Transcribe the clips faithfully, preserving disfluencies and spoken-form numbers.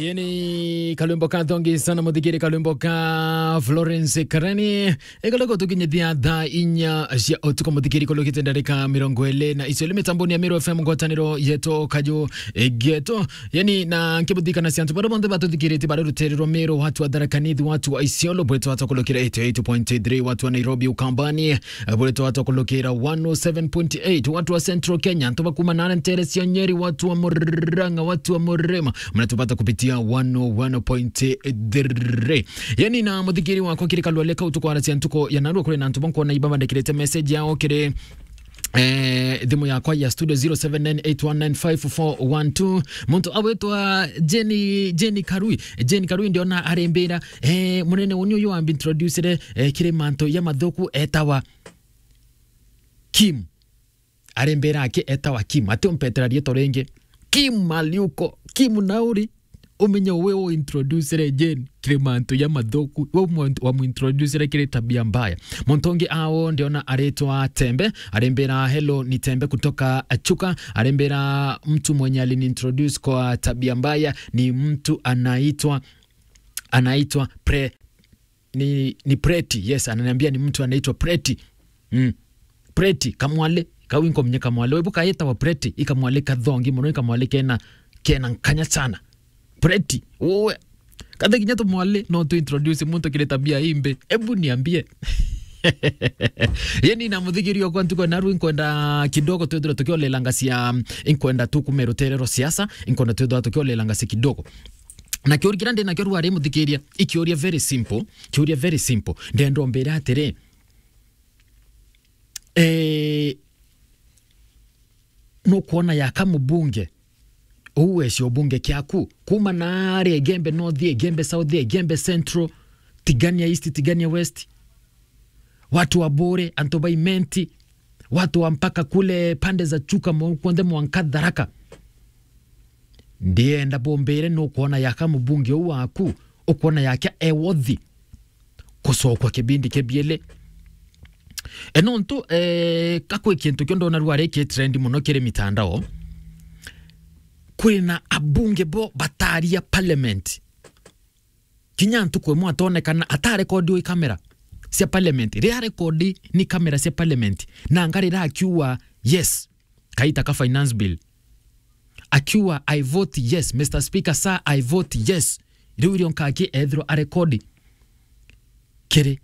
Yeni kalwimbo ka thongi sana muthikiri, kalwimbo ka Florence Karani. Ikaloko tukinyithia thaa inya cia utuku muthikiri, kulukite ndarika mirongo iri na icili mitamboni ya Meru F M, ngwataniro yetu kaju getu. Yeni na nkibuthikana cia antu baria bonthe batuthikirite bari rutere rwa Meru, watu wa Tharaka Nithi, watu wa Isiolo, bwetwa atakulukira eighty eight point three, watu wa Nairobi Ukambani, bwetwa atakulukira one oh seven point eight, watu wa Central Kenya, antu bakuma na ntere cia Nyeri, watu wa Murang'a, watu wa Murima, mnatupata kupitia one oh one point three. Yeni na muthikiri wakwa kiri kalwale kau tukwaracia ntuko ya narua, kuri na antu bankwona ibabandikirite message yao kiri eh, thimu yakwa ya studio zero seven nine eight one nine five four one two. Muntu awitwa Jenny, Jenny Karui. Jenny Karui ndiona arimbira, eh, munene uni uyu wambi introducere, eh, kiri mantu ya mathuku etawa Kim. Arimbira aki etawa Kim. Ati umpetera rieto ringi. Kim Maliuko. Kim Nauri. Umenye we u introducere Jane kiri mantu ya mathuku, we mu-, wamu introducere kiri tabia mbaya. Muntu ungi ao ndiona aritwa Tembe, arimbira, "Hello, ni Tembe kutoka Chuka." Arimbira, "Mtu mwenye alini introduce kwa tabia mbaya ni mtu anaitwa, anaitwa Pre-, ni, ni Preti." Yes, ananiambia ni mtu anaitwa Preti. Mm. Preti, kamwale, kau inkomenya kamwale. Webu kaetawa Preti, ikamwale kathongi muno, ikamwale kena, kena nkanya sana. Preti, uwe. Kathe kinya tumwale, no tu introduce muntu kiri tabia imbi. Ebu niambie. Yeni na muthikiri okwa ntuko naru inkwenda kidogo twithirwe tukiolelanga cia, inkwenda tukume rutere rwa siasa, inkwenda twithirwa tukiolelanga cia kidogo. Na kiuria kiria ndi nakio rwari muthikiria, ikiuria very simple, kiuria very simple. Ndenda umbire atiri, eh, nukwona yaka mubunge, uu weci ubunge kiaku, kuma nari Igembe North, Igembe South, Igembe Central, Tigania East, Tigania West, watu wa Bore, antu ba Imenti, watu wa mpaka kule pande za Chuka, mo-, kwonde mwanka Tharaka. Ndienda bumbire nukwona yaka mubunge uu waku, ukwona yake e worthy kucokwa kibindi kia biele. E nontu, eh, kakwi kintu kio ndona rwari ki trend muno kiri mitandao. Kwina abunge bo bataria parliament. Kinya ntuku imwe atonekana atarekodiwe i kamera cia parliament. Riria arekodi ni kamera cia parliament, na ngarira akiuga yes, kaita ka finance bill. Akiuga, "I vote yes, Mister Speaker, sir, I vote yes." Riu irio nkaki ethirwa arekodi kiri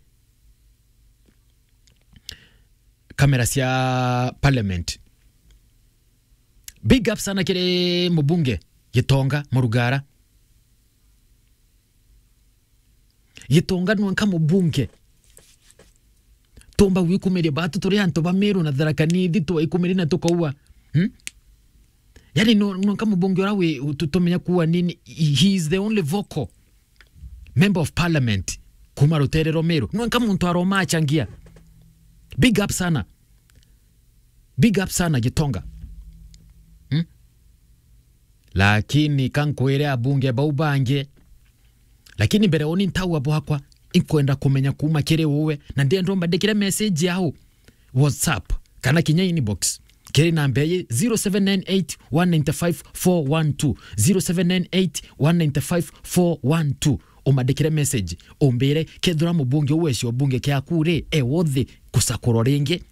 kamera cia parliament. Big up sana kiri mubunge Gitonga Murugara. Gitonga nwanka mubunge. Tumba gwikumiria batu turi antu ba Meru na Tharaka Nithi, twaikumiria na tukaua. Hmm? Yani, no, nwanka mubunge ura wi, tu-, tumenya kuwa nini, he is the only vocal member of parliament kuma rutere rwa Meru. Nwanka muntu aroma achangia. Big up sana. Big up sana Gitonga. Hmm? Lakini kankwire abunge bau bangi. Lakini mbere uni ntaua bwakwa, inkwenda kumenya kuma kiri uwe, na ndenda umbandikire message yao WhatsApp kana kinya inbox kiri namba iji zero seven nine eight one nine five four one two, zero seven nine eight one nine five four one two. Umandikire message, umbire kethira mubunge uweci ubunge kiaku ri, e worthy kusakurwa ringi.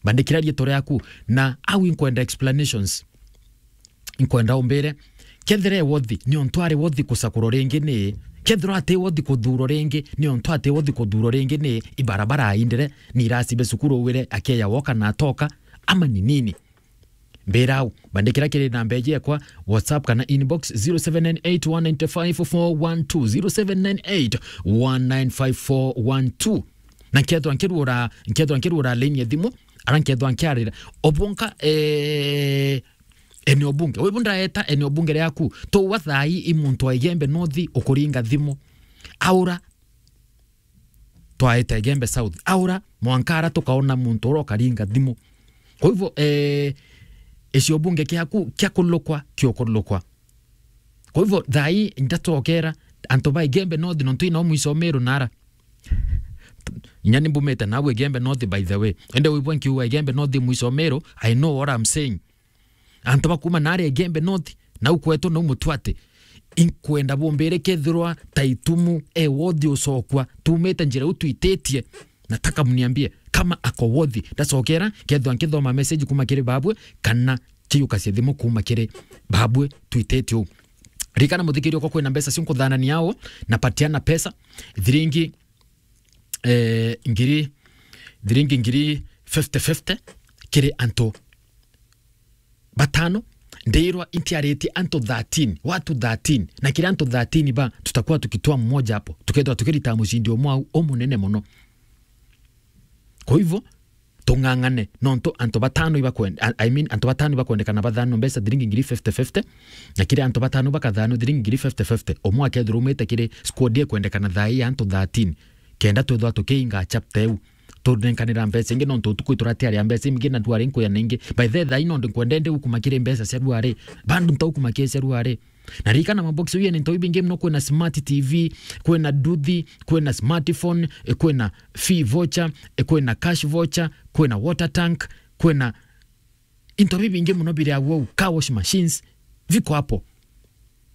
Bandikira rietwa riaku, na au inkwenda explanations. Inkwenda umbire, kethira e worthy, ni ontu ari worthy kusakurwa ringi ni, kethira ati worthy kuthurwa ringi, ni ontu ati worthy kuthurwa ringi ni, ibarabara aindire, ni irasibe cukuru wire akeya woka na atoka, ama ni nini? Mbira au, bandikira kiri namba iji yakwa, WhatsApp kana inbox zero seven nine eight one nine five four one two, zero seven nine eight one nine five four one two. Na nkethwa nkirura, nkethwa nkirura line ya thimu, ara nkethwa nkiarira. Obonka, eh, eneo bunge. Wibu ndaeta eneo bunge riaku. Tuwa thai i muntu wa Igembe North ukuringa thimu. Aura, twaete Igembe South. Aura, mwanka ara tukaona muntu ura ukaringa thimu. Kwa hivyo, eh, icio bunge kiaku kia kulukwa, kiokulukwa. Kwa hivyo, thai ndatokera antu ba Igembe North nontu ino mwico Meru nara. Inya ni mbumite nawe Igembe North, by the way. Ende wibwe nkiuga Igembe North mwico Meru, I know what I'm saying. Antu bakuma nari Igembe North, nau kwetu nau Mutwate. Inkwenda bumbire kethirwa Taitumu e worthy ucokwa, tumite njira iu twititie. Nataka mniambie kama ako worthy. Ndacokera, kethirwa nkithoma message kuma kiri babwe, kana chiuka cia thimu kuma kiri babwe twititie uu. Ririkana muthikiria, uko kwina mbeca cio nkuthanania ao, na patiana pesa, thiringi, eh, ngiri, thiringi ngiri fifty fifty kiri antu batano. Ndirwa intiaritie antu thirteen, watu thirteen, na kiri antu thirteen ba, tutakuwa tukitoa mmoja hapo, tukethirwa tukirita mucindi umwe au umunene muno. Kwa hivyo, tung'ang'ane, nontu antu batano ibakwenda, I mean, antu batano ibakwendekana bathanwe mbeca thiringi ngiri fifty fifty, na kiri antu batano bakathanwa thiringi ngiri fifty fifty, umwe akethirwa umite kiri squad ikwendekana thaa ii ya antu thirteen, kenda twithwa tukiinga chapter iu, tunenkanira mbeca ingi, nontu utuku ituratiaria mbeca ingi na ruari nkuya ningi. By the way, thaa ii nondi nkwenda ndi gukuma kiri mbeca cia ruari, bandu ntaukuma kiri cia ruari. Na ririkana mabox iu yene into ibingi muno, kwina smart T V, kwina nduthi, kwina smartphone, eh, kwina fee voucher, eh, kwina cash voucher, kwina water tank, kwina into bibingi muno biri au, car wash machines, viko hapo.